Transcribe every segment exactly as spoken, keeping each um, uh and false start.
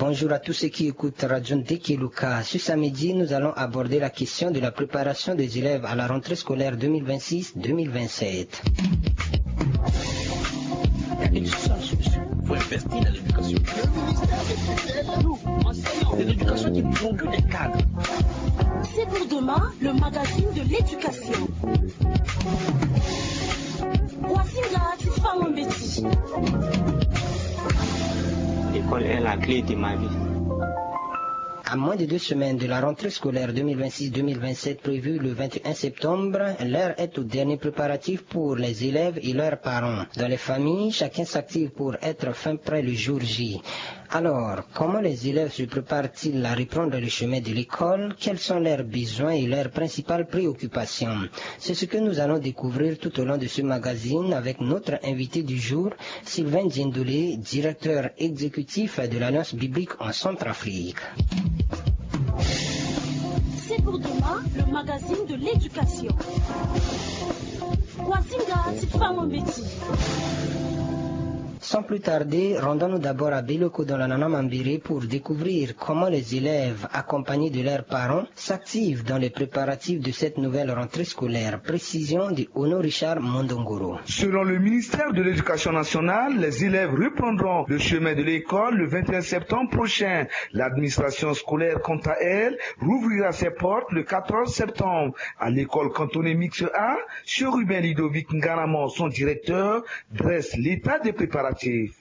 Bonjour à tous ceux qui écoutent Radio Ndekeluka. Ce samedi, nous allons aborder la question de la préparation des élèves à la rentrée scolaire deux mille vingt-six deux mille vingt-sept. Il y a une seule solution pour investir dans l'éducation. Le ministère de tutelle, nous, enseignants de l'éducation qui produit des cadres. C'est pour demain, le magazine de l'éducation. Wazinga ti fango mbeti. L'école est la clé de ma vie. À moins de deux semaines de la rentrée scolaire deux mille vingt-six deux mille vingt-sept prévue le vingt et un septembre, l'heure est aux derniers préparatifs pour les élèves et leurs parents. Dans les familles, chacun s'active pour être fin prêt le jour J. Alors, comment les élèves se préparent-ils à reprendre le chemin de l'école ? Quels sont leurs besoins et leurs principales préoccupations ? C'est ce que nous allons découvrir tout au long de ce magazine avec notre invité du jour, Sylvain Diendolé, directeur exécutif de l'Alliance biblique en Centrafrique. C'est pour demain, le magazine de l'éducation. Wazinga ti fango mbeti. Sans plus tarder, rendons-nous d'abord à Beloko dans la Nana Mambéré pour découvrir comment les élèves, accompagnés de leurs parents, s'activent dans les préparatifs de cette nouvelle rentrée scolaire. Précision de Ono Richard Mondongoro. Selon le ministère de l'Éducation nationale, les élèves reprendront le chemin de l'école le vingt et un septembre prochain. L'administration scolaire, quant à elle, rouvrira ses portes le quatorze septembre. À l'école cantonnée mixte A, Chérubin Ludovic Ngaramon, son directeur, dresse l'état des préparatifs.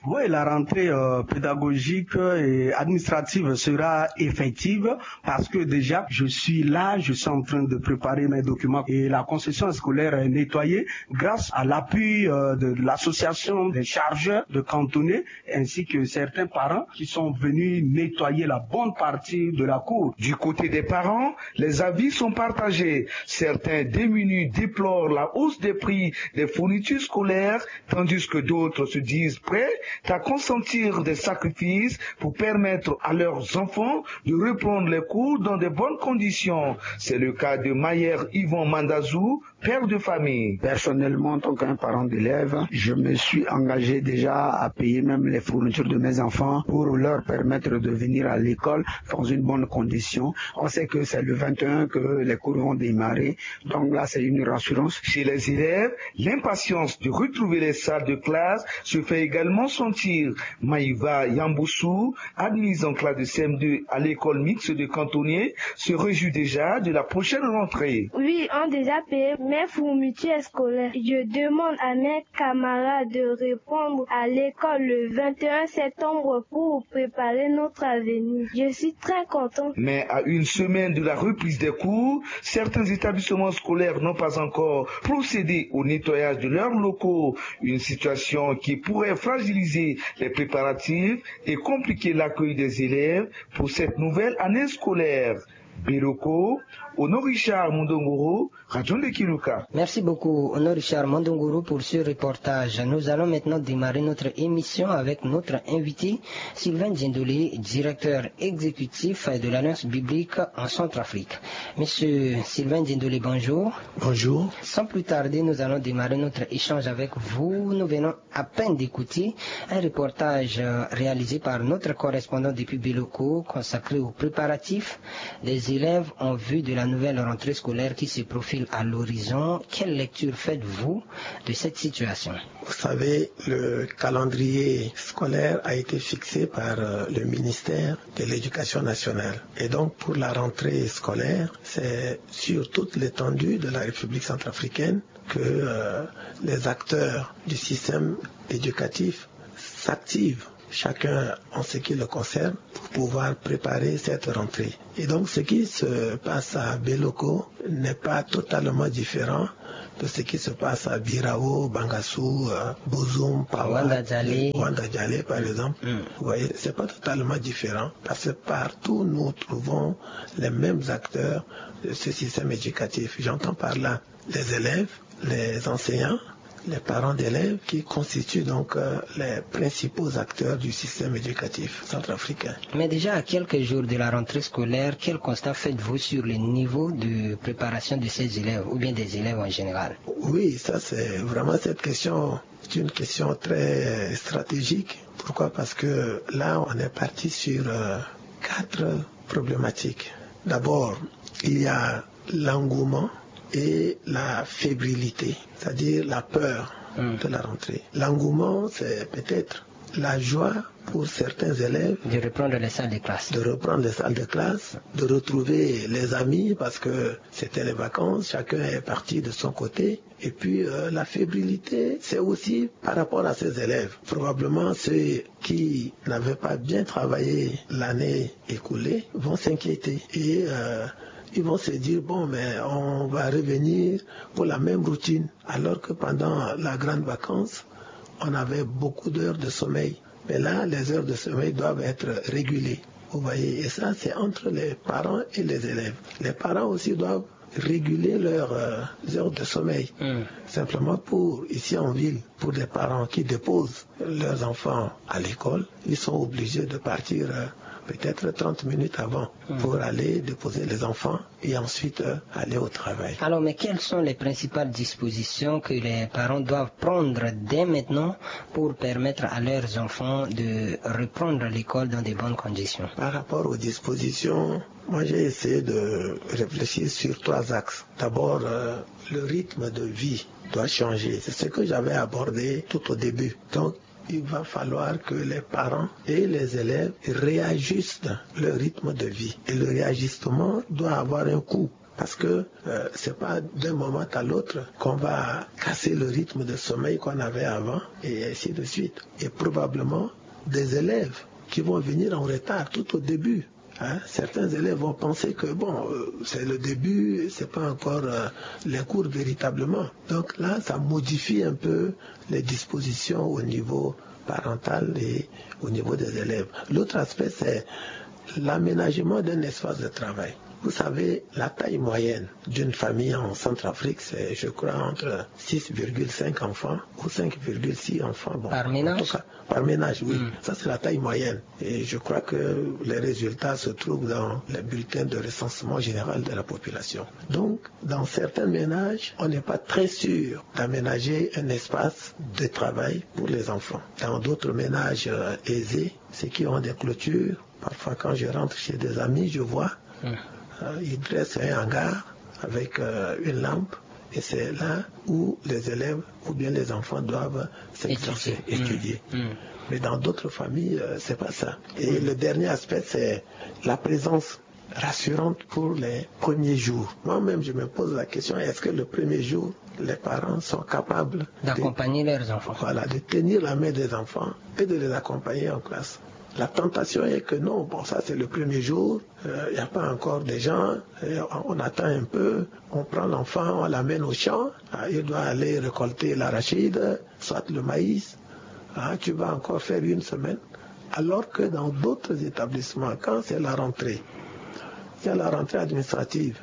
Oui, la rentrée, euh, pédagogique et administrative sera effective parce que déjà, je suis là, je suis en train de préparer mes documents et la concession scolaire est nettoyée grâce à l'appui, euh, de l'association des chargeurs de cantonnée ainsi que certains parents qui sont venus nettoyer la bonne partie de la cour. Du côté des parents, les avis sont partagés. Certains démunis déplorent la hausse des prix des fournitures scolaires, tandis que d'autres se disent prêts à consentir des sacrifices pour permettre à leurs enfants de reprendre les cours dans de bonnes conditions. C'est le cas de Mayer Yvon Mandazou, père de famille. Personnellement, en tant qu'un parent d'élève, je me suis engagé déjà à payer même les fournitures de mes enfants pour leur permettre de venir à l'école dans une bonne condition. On sait que c'est le vingt et un que les cours vont démarrer. Donc là, c'est une rassurance. Chez les élèves, l'impatience de retrouver les salles de classe se fait également sentir. Maïva Yamboussou, admise en classe de C M deux à l'école mixte de Cantonnier, se réjouit déjà de la prochaine rentrée. Oui, on a déjà payé mes fournitures scolaires. Je demande à mes camarades de reprendre à l'école le vingt et un septembre pour préparer notre avenir. Je suis très content. Mais à une semaine de la reprise des cours, certains établissements scolaires n'ont pas encore procédé au nettoyage de leurs locaux. Une situation qui pourrait fragiliser les préparatifs et compliquer l'accueil des élèves pour cette nouvelle année scolaire. Beloko, Ono Richard Mondongoro, Radio Ndekeluka. Merci beaucoup, Ono Richard Mondongoro, pour ce reportage. Nous allons maintenant démarrer notre émission avec notre invité, Sylvain Diendolé, directeur exécutif de l'Alliance biblique en Centrafrique. Monsieur Sylvain Diendolé, bonjour. Bonjour. Sans plus tarder, nous allons démarrer notre échange avec vous. Nous venons à peine d'écouter un reportage, euh, réalisé par notre correspondant depuis Beloko, consacré aux préparatifs des élèves en vue de la nouvelle rentrée scolaire qui se profile à l'horizon. Quelle lecture faites-vous de cette situation ? Vous savez, le calendrier scolaire a été fixé par, euh, le ministère de l'Éducation nationale. Et donc, pour la rentrée scolaire, c'est sur toute l'étendue de la République centrafricaine que, euh, les acteurs du système éducatif s'activent, chacun en ce qui le concerne, pour pouvoir préparer cette rentrée. Et donc, ce qui se passe à Beloko n'est pas totalement différent de ce qui se passe à Birao, Bangassou, euh, Bozoum, Pawa, Wanda Djalé. Wanda Djalé, par exemple. Mm. Vous voyez, c'est pas totalement différent parce que partout, nous trouvons les mêmes acteurs de ce système éducatif. J'entends par là les élèves, les enseignants, les parents d'élèves qui constituent donc, euh, les principaux acteurs du système éducatif centrafricain. Mais déjà à quelques jours de la rentrée scolaire, quel constat faites-vous sur le niveau de préparation de ces élèves ou bien des élèves en général ? Oui, ça c'est vraiment cette question, c'est une question très stratégique. Pourquoi ? Parce que là, on est parti sur euh, quatre problématiques. D'abord, il y a l'engouement et la fébrilité, c'est-à-dire la peur de la rentrée. L'engouement, c'est peut-être la joie pour certains élèves de reprendre les salles de classe, de reprendre les salles de classe, de retrouver les amis parce que c'était les vacances, chacun est parti de son côté. Et puis, euh, la fébrilité, c'est aussi par rapport à ces élèves. Probablement ceux qui n'avaient pas bien travaillé l'année écoulée vont s'inquiéter. Et euh, ils vont se dire, bon, mais on va revenir pour la même routine. Alors que pendant la grande vacances, on avait beaucoup d'heures de sommeil. Mais là, les heures de sommeil doivent être régulées. Vous voyez, et ça, c'est entre les parents et les élèves. Les parents aussi doivent réguler leurs euh, heures de sommeil. Simplement pour, ici en ville, pour des parents qui déposent leurs enfants à l'école, ils sont obligés de partir euh, peut-être trente minutes avant pour aller déposer les enfants et ensuite euh, aller au travail. Alors, mais quelles sont les principales dispositions que les parents doivent prendre dès maintenant pour permettre à leurs enfants de reprendre l'école dans de bonnes conditions ? Par rapport aux dispositions, moi j'ai essayé de réfléchir sur trois axes. D'abord, euh, le rythme de vie doit changer. C'est ce que j'avais abordé tout au début. Donc, il va falloir que les parents et les élèves réajustent leur rythme de vie. Et le réajustement doit avoir un coût. Parce que euh, c'est pas d'un moment à l'autre qu'on va casser le rythme de sommeil qu'on avait avant et ainsi de suite. Et probablement des élèves qui vont venir en retard tout au début. Hein, certains élèves vont penser que bon, euh, c'est le début, c'est pas encore euh, les cours véritablement. Donc là, ça modifie un peu les dispositions au niveau parental et au niveau des élèves. L'autre aspect, c'est l'aménagement d'un espace de travail. Vous savez, la taille moyenne d'une famille en Centrafrique, c'est, je crois, entre six virgule cinq enfants ou cinq virgule six enfants. Bon, par ménage ? En tout cas, par ménage, oui. Ça, c'est la taille moyenne. Et je crois que les résultats se trouvent dans les bulletins de recensement général de la population. Donc, dans certains ménages, on n'est pas très sûr d'aménager un espace de travail pour les enfants. Dans d'autres ménages euh, aisés, ceux qui ont des clôtures, parfois quand je rentre chez des amis, je vois, euh, ils dressent un hangar avec euh, une lampe. Et c'est là où les élèves ou bien les enfants doivent s'exercer, étudier. Mais dans d'autres familles, euh, c'est pas ça. Et le dernier aspect, c'est la présence rassurante pour les premiers jours. Moi-même, je me pose la question, est-ce que le premier jour, les parents sont capables de, d'accompagner leurs enfants, voilà, de tenir la main des enfants et de les accompagner en classe ? La tentation est que non, bon, ça c'est le premier jour, euh, il n'y a pas encore des gens, et on, on attend un peu, on prend l'enfant, on l'amène au champ, ah, il doit aller récolter l'arachide, soit le maïs, ah, tu vas encore faire une semaine. Alors que dans d'autres établissements, quand c'est la rentrée, il y a la rentrée administrative,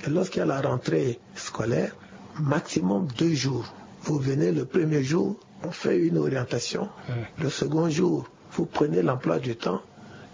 et lorsqu'il y a la rentrée scolaire, maximum deux jours. Vous venez le premier jour, on fait une orientation. Le second jour, vous prenez l'emploi du temps.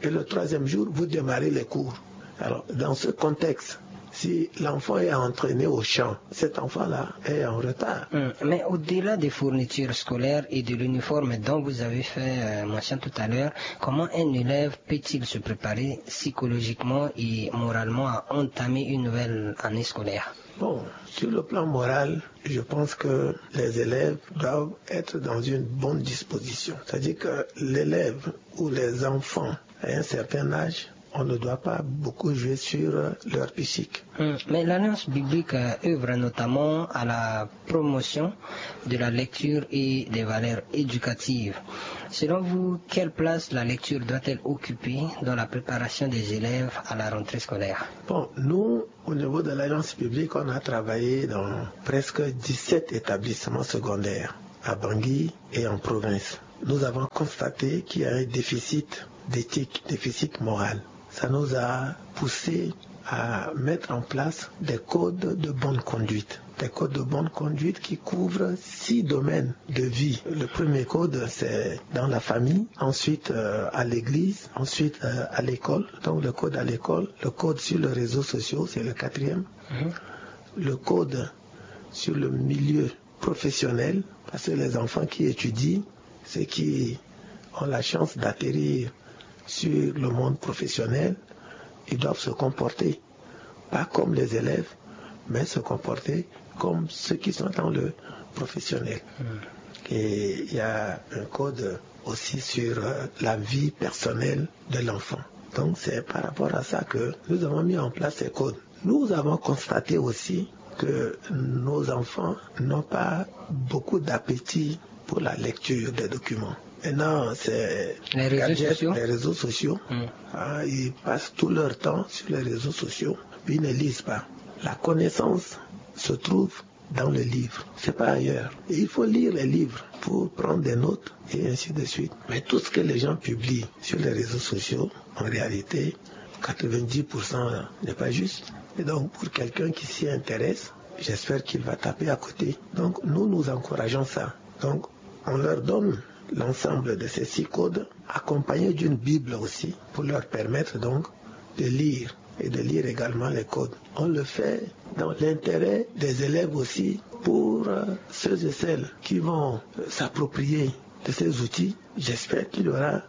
Et le troisième jour, vous démarrez les cours. Alors, dans ce contexte, si l'enfant est entraîné au champ, cet enfant-là est en retard. Hmm. Mais au-delà des fournitures scolaires et de l'uniforme dont vous avez fait euh, mention tout à l'heure, comment un élève peut-il se préparer psychologiquement et moralement à entamer une nouvelle année scolaire ? Bon, sur le plan moral, je pense que les élèves doivent être dans une bonne disposition. C'est-à-dire que l'élève ou les enfants à un certain âge, on ne doit pas beaucoup jouer sur leur psychique. Hmm. Mais l'Alliance biblique euh, œuvre notamment à la promotion de la lecture et des valeurs éducatives. Selon vous, quelle place la lecture doit-elle occuper dans la préparation des élèves à la rentrée scolaire ? Bon, nous, au niveau de l'Alliance biblique, on a travaillé dans presque dix-sept établissements secondaires à Bangui et en province. Nous avons constaté qu'il y a un déficit d'éthique, déficit moral. Ça nous a poussé à mettre en place des codes de bonne conduite. Des codes de bonne conduite qui couvrent six domaines de vie. Le premier code, c'est dans la famille, ensuite euh, à l'église, ensuite euh, à l'école. Donc le code à l'école, le code sur les réseaux sociaux, c'est le quatrième. Le code sur le milieu professionnel, parce que les enfants qui étudient, ceux qui ont la chance d'atterrir sur le monde professionnel, ils doivent se comporter, pas comme les élèves, mais se comporter comme ceux qui sont dans le professionnel. Et il y a un code aussi sur euh, la vie personnelle de l'enfant. Donc c'est par rapport à ça que nous avons mis en place ces codes. Nous avons constaté aussi que nos enfants n'ont pas beaucoup d'appétit pour la lecture des documents. Maintenant, c'est les réseaux sociaux. Les réseaux sociaux. Hein, ils passent tout leur temps sur les réseaux sociaux, puis ils ne lisent pas. La connaissance se trouve dans le livre, c'est pas ailleurs. Et il faut lire les livres pour prendre des notes et ainsi de suite. Mais tout ce que les gens publient sur les réseaux sociaux, en réalité, quatre-vingt-dix pour cent n'est pas juste. Et donc, pour quelqu'un qui s'y intéresse, j'espère qu'il va taper à côté. Donc, nous, nous encourageons ça. Donc, on leur donne l'ensemble de ces six codes, accompagnés d'une Bible aussi, pour leur permettre donc de lire et de lire également les codes. On le fait dans l'intérêt des élèves aussi, pour euh, ceux et celles qui vont euh, s'approprier de ces outils. J'espère qu'il y aura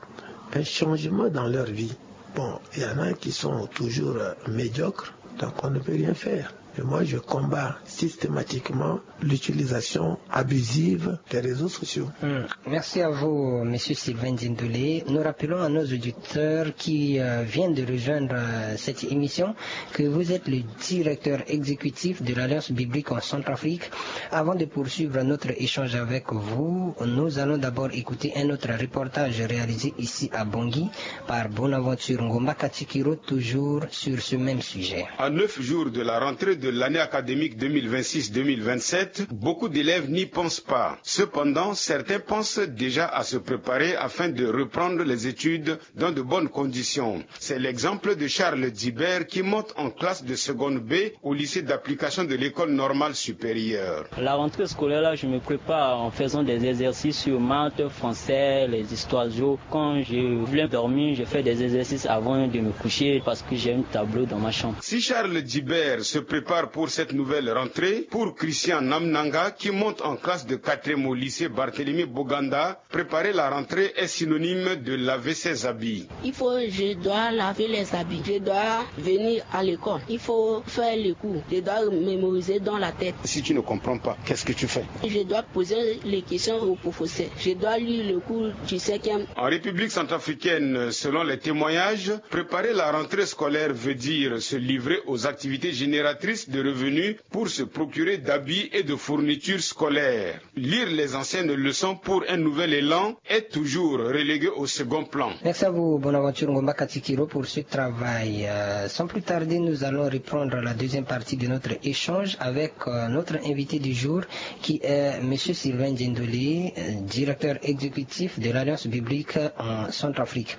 un changement dans leur vie. Bon, il y en a qui sont toujours euh, médiocres, donc on ne peut rien faire. Et moi, je combats systématiquement l'utilisation abusive des réseaux sociaux. Hmm. Merci à vous, Monsieur Sylvain Dindolé. Nous rappelons à nos auditeurs qui euh, viennent de rejoindre euh, cette émission que vous êtes le directeur exécutif de l'Alliance biblique en Centrafrique. Avant de poursuivre notre échange avec vous, nous allons d'abord écouter un autre reportage réalisé ici à Bangui par Bonaventure Ngomba Katikiro, toujours sur ce même sujet. À neuf jours de la rentrée de l'année académique deux mille vingt-six deux mille vingt-sept, beaucoup d'élèves n'y pensent pas. Cependant, certains pensent déjà à se préparer afin de reprendre les études dans de bonnes conditions. C'est l'exemple de Charles Dibert qui monte en classe de seconde B au lycée d'application de l'École normale supérieure. La rentrée scolaire, là, je me prépare en faisant des exercices sur maths, français, les histoires géo. Quand je viens dormir, je fais des exercices avant de me coucher parce que j'ai un tableau dans ma chambre. Si Charles Dibert se prépare pour cette nouvelle rentrée, pour Christian Namnanga, qui monte en classe de quatrième au lycée Barthélemy Boganda, préparer la rentrée est synonyme de laver ses habits. Il faut, je dois laver les habits. Je dois venir à l'école. Il faut faire les cours. Je dois mémoriser dans la tête. Si tu ne comprends pas, qu'est-ce que tu fais ? Je dois poser les questions au professeur. Je dois lire le cours du cinquième. En République centrafricaine, selon les témoignages, préparer la rentrée scolaire veut dire se livrer aux activités génératrices de revenus pour se procurer d'habits et de fournitures scolaires. Lire les anciennes leçons pour un nouvel élan est toujours relégué au second plan. Merci à vous, Bonaventure Ngomba Katikiro, pour ce travail. Euh, sans plus tarder, nous allons reprendre la deuxième partie de notre échange avec euh, notre invité du jour, qui est M. Sylvain Djendolé, euh, directeur exécutif de l'Alliance biblique en Centrafrique.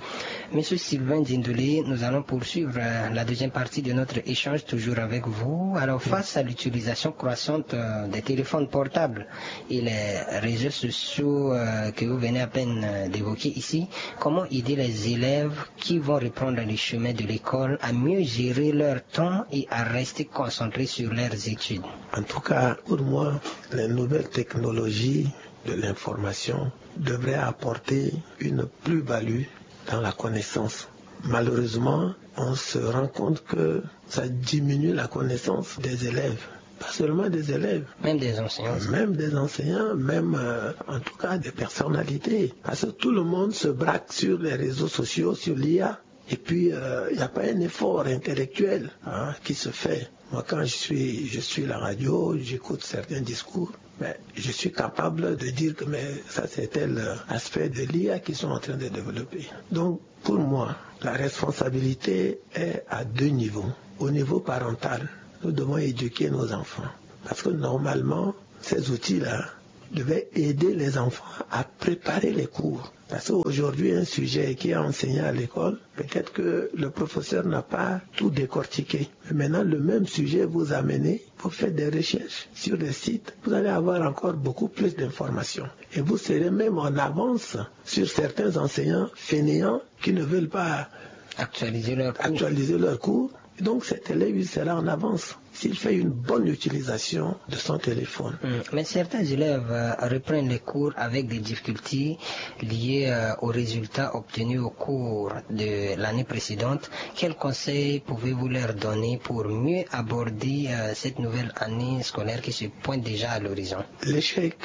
M. Sylvain Djendolé, nous allons poursuivre euh, la deuxième partie de notre échange, toujours avec vous. Alors, face à l'utilisation croissante euh, des téléphones portables et les réseaux sociaux euh, que vous venez à peine euh, d'évoquer ici, comment aider les élèves qui vont reprendre le chemin de l'école à mieux gérer leur temps et à rester concentrés sur leurs études ? En tout cas, pour moi, les nouvelles technologies de l'information devraient apporter une plus-value dans la connaissance. Malheureusement, on se rend compte que ça diminue la connaissance des élèves. Pas seulement des élèves. Même des enseignants. Même des enseignants, même euh, en tout cas des personnalités. Parce que tout le monde se braque sur les réseaux sociaux, sur l'I A. Et puis, euh, il n'y a pas un effort intellectuel hein, qui se fait. Moi, quand je suis, je suis à la radio, j'écoute certains discours. Mais je suis capable de dire que mais ça, c'est tel euh, aspect de l'I A qu'ils sont en train de développer. Donc, pour moi, la responsabilité est à deux niveaux. Au niveau parental, nous devons éduquer nos enfants. Parce que normalement, ces outils-là devaient aider les enfants à préparer les cours. Parce qu'aujourd'hui, un sujet qui est enseigné à l'école, peut-être que le professeur n'a pas tout décortiqué. Mais maintenant, le même sujet, vous amenez, vous faites des recherches sur des sites, vous allez avoir encore beaucoup plus d'informations. Et vous serez même en avance sur certains enseignants fainéants qui ne veulent pas actualiser leur cours. Actualiser leur cours. Donc cet élève, il sera en avance. il fait une bonne utilisation de son téléphone. Mais certains élèves euh, reprennent les cours avec des difficultés liées euh, aux résultats obtenus au cours de l'année précédente. Quels conseils pouvez-vous leur donner pour mieux aborder euh, cette nouvelle année scolaire qui se pointe déjà à l'horizon ? L'échec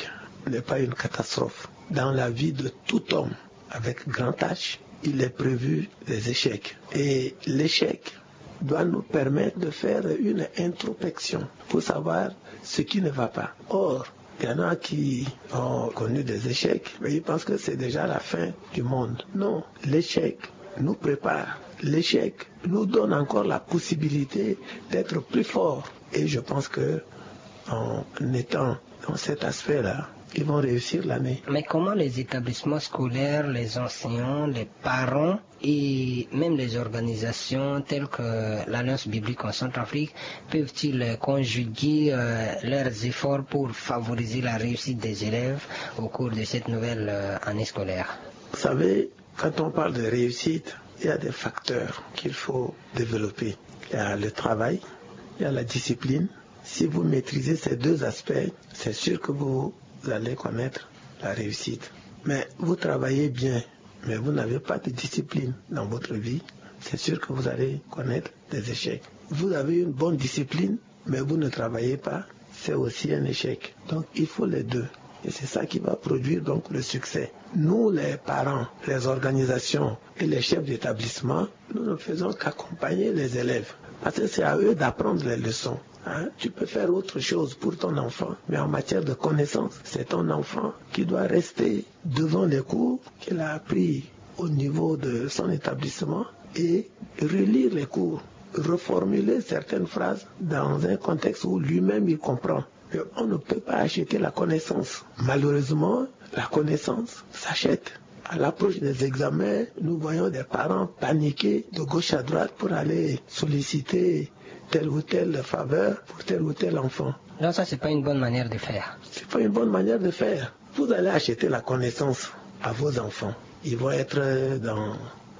n'est pas une catastrophe. Dans la vie de tout homme, avec grand H, il est prévu des échecs. Et l'échec doit nous permettre de faire une introspection pour savoir ce qui ne va pas. Or, il y en a qui ont connu des échecs, mais ils pensent que c'est déjà la fin du monde. Non, l'échec nous prépare. L'échec nous donne encore la possibilité d'être plus fort. Et je pense que en étant dans cet aspect-là, ils vont réussir l'année. Mais comment les établissements scolaires, les enseignants, les parents et même les organisations telles que l'Alliance biblique en Centrafrique peuvent-ils conjuguer euh, leurs efforts pour favoriser la réussite des élèves au cours de cette nouvelle euh, année scolaire ? Vous savez, quand on parle de réussite, il y a des facteurs qu'il faut développer. Il y a le travail, il y a la discipline. Si vous maîtrisez ces deux aspects, c'est sûr que vous allez connaître la réussite. Mais vous travaillez bien, mais vous n'avez pas de discipline dans votre vie, c'est sûr que vous allez connaître des échecs. Vous avez une bonne discipline, mais vous ne travaillez pas, c'est aussi un échec. Donc il faut les deux. Et c'est ça qui va produire donc le succès. Nous, les parents, les organisations et les chefs d'établissement, nous ne faisons qu'accompagner les élèves. Parce que c'est à eux d'apprendre les leçons. Hein ? Tu peux faire autre chose pour ton enfant, mais en matière de connaissance, c'est ton enfant qui doit rester devant les cours qu'il a appris au niveau de son établissement et relire les cours, reformuler certaines phrases dans un contexte où lui-même il comprend. Mais on ne peut pas acheter la connaissance. Malheureusement, la connaissance s'achète. À l'approche des examens, nous voyons des parents paniquer de gauche à droite pour aller solliciter telle ou telle faveur pour tel ou tel enfant. Donc ça, c'est pas une bonne manière de faire. C'est pas une bonne manière de faire. Vous allez acheter la connaissance à vos enfants. Ils vont être dans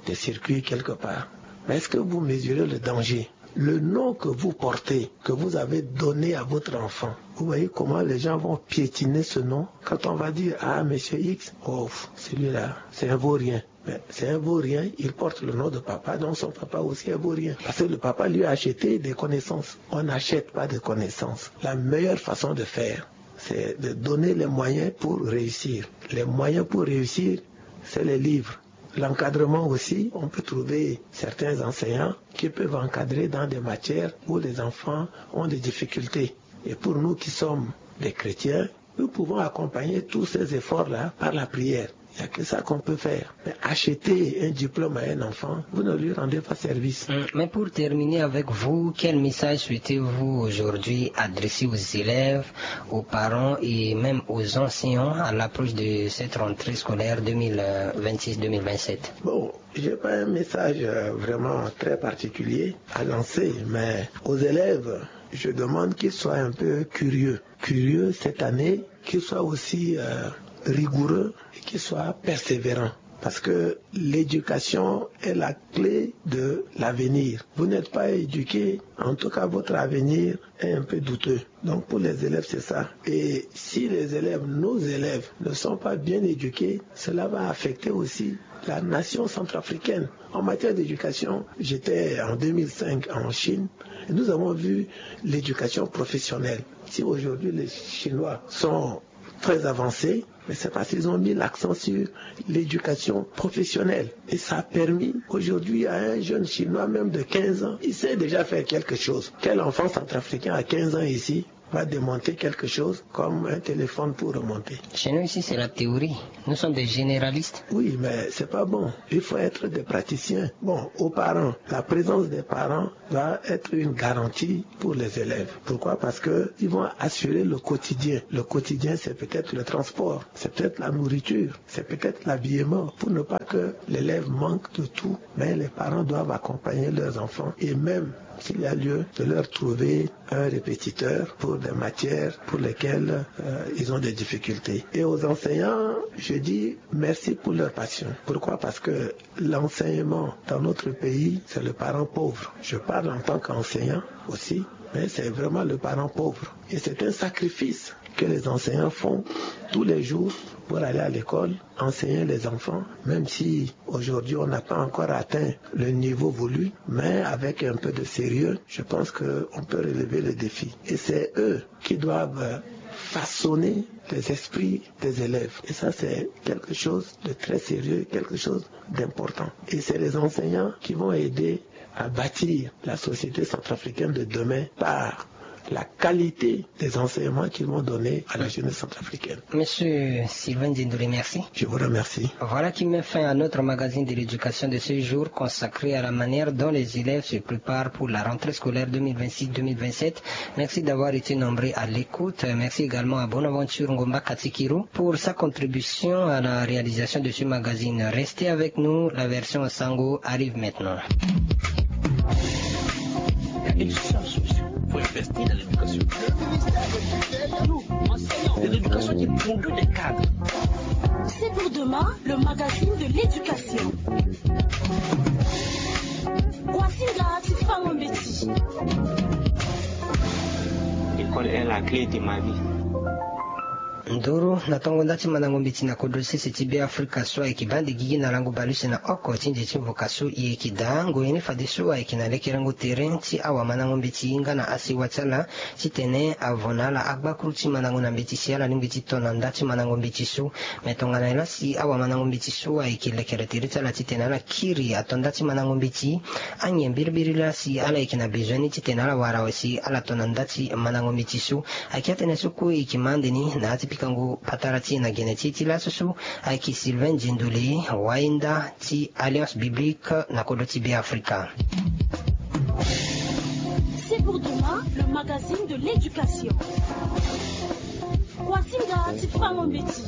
des circuits quelque part. Mais est-ce que vous mesurez le danger ? Le nom que vous portez, que vous avez donné à votre enfant, vous voyez comment les gens vont piétiner ce nom quand on va dire, ah, monsieur X, oh, celui-là, c'est un vaurien. Mais c'est un vaurien, il porte le nom de papa, donc son papa aussi est vaurien. Parce que le papa lui a acheté des connaissances. On n'achète pas de connaissances. La meilleure façon de faire, c'est de donner les moyens pour réussir. Les moyens pour réussir, c'est les livres. L'encadrement aussi, on peut trouver certains enseignants qui peuvent encadrer dans des matières où les enfants ont des difficultés. Et pour nous qui sommes des chrétiens, nous pouvons accompagner tous ces efforts-là par la prière. Il n'y a que ça qu'on peut faire. Mais acheter un diplôme à un enfant, vous ne lui rendez pas service. Mais pour terminer avec vous, quel message souhaitez-vous aujourd'hui adresser aux élèves, aux parents et même aux enseignants à l'approche de cette rentrée scolaire deux mille vingt-six deux mille vingt-sept ? Bon, j'ai pas un message euh, vraiment très particulier à lancer, mais aux élèves, je demande qu'ils soient un peu curieux. Curieux cette année, qu'ils soient aussi euh, rigoureux et qu'ils soient persévérants. Parce que l'éducation est la clé de l'avenir. Vous n'êtes pas éduqué, en tout cas votre avenir est un peu douteux. Donc pour les élèves, c'est ça. Et si les élèves, nos élèves, ne sont pas bien éduqués, cela va affecter aussi la nation centrafricaine. En matière d'éducation, j'étais en deux mille cinq en Chine et nous avons vu l'éducation professionnelle. Si aujourd'hui les Chinois sont très avancés, mais c'est parce qu'ils ont mis l'accent sur l'éducation professionnelle. Et ça a permis aujourd'hui à un jeune Chinois, même de quinze ans, il sait déjà faire quelque chose. Quel enfant centrafricain à quinze ans ici va démonter quelque chose comme un téléphone pour remonter ? Chez nous ici, c'est la théorie. Nous sommes des généralistes. Oui, mais c'est pas bon. Il faut être des praticiens. Bon, aux parents, la présence des parents doit être une garantie pour les élèves. Pourquoi ? Parce que ils vont assurer le quotidien. Le quotidien, c'est peut-être le transport, c'est peut-être la nourriture, c'est peut-être l'habillement, pour ne pas que l'élève manque de tout. Mais les parents doivent accompagner leurs enfants et même s'il y a lieu de leur trouver un répétiteur pour des matières pour lesquelles euh, ils ont des difficultés. Et aux enseignants, je dis merci pour leur passion. Pourquoi ? Parce que l'enseignement dans notre pays, c'est le parent pauvre. Je parle en tant qu'enseignant aussi, mais c'est vraiment le parent pauvre. Et c'est un sacrifice que les enseignants font tous les jours pour aller à l'école, enseigner les enfants, même si aujourd'hui on n'a pas encore atteint le niveau voulu, mais avec un peu de sérieux, je pense qu'on peut relever le défi. Et c'est eux qui doivent façonner les esprits des élèves. Et ça, c'est quelque chose de très sérieux, quelque chose d'important. Et c'est les enseignants qui vont aider à bâtir la société centrafricaine de demain par la qualité des enseignements qu'ils vont donner à la jeunesse centrafricaine. Monsieur Sylvain Dindoury, merci. Je vous remercie. Voilà qui met fin à notre magazine de l'éducation de ce jour consacré à la manière dont les élèves se préparent pour la rentrée scolaire deux mille vingt-six deux mille vingt-sept. Merci d'avoir été nombreux à l'écoute. Merci également à Bonaventure Ngomba Katikirou pour sa contribution à la réalisation de ce magazine. Restez avec nous, la version Sango arrive maintenant. Il faut investir dans l'éducation. Nous, enseignants, c'est l'éducation qui produit des cadres. C'est pour demain, le magazine de l'éducation. Kwasinga ti fango mbeti. L'école est la clé de ma vie. Nduru na tongo nda ti mandango mbeti na kodro ti sese ti Beafrika so ayeke baa ande gigi na lango baleuse na oko ti nze ti mvuka so e yeke daa ngoi ni fadeso ayeke na lekerengo tere ti awamandango mbeti nga na asiwa ti ala titene avo na ala agbakuru ti mandango na mbeti si ala lingbi ti to na nda ti mandango mbeti so. Me tongana nyen laa si awamandango mbeti so ayeke lekere tere ti ala titene ala kiri ato nda ti mandango mbeti? Anyen biribiri laa si ala yeke na bezoin ni titene ala wara awe si ala to na nda ti mandango mbeti so? Ayeke atene so kue e yeke ma ande ni na ya ti pikango patara ti e na gene ti e ti laso so. Ayeke Sylvain Djendole, wayenda ti Alliance Biblique na kodro ti Beafrika. C'est pour demain, le magazine de l'éducation. Kwasinga ti fango mbeti.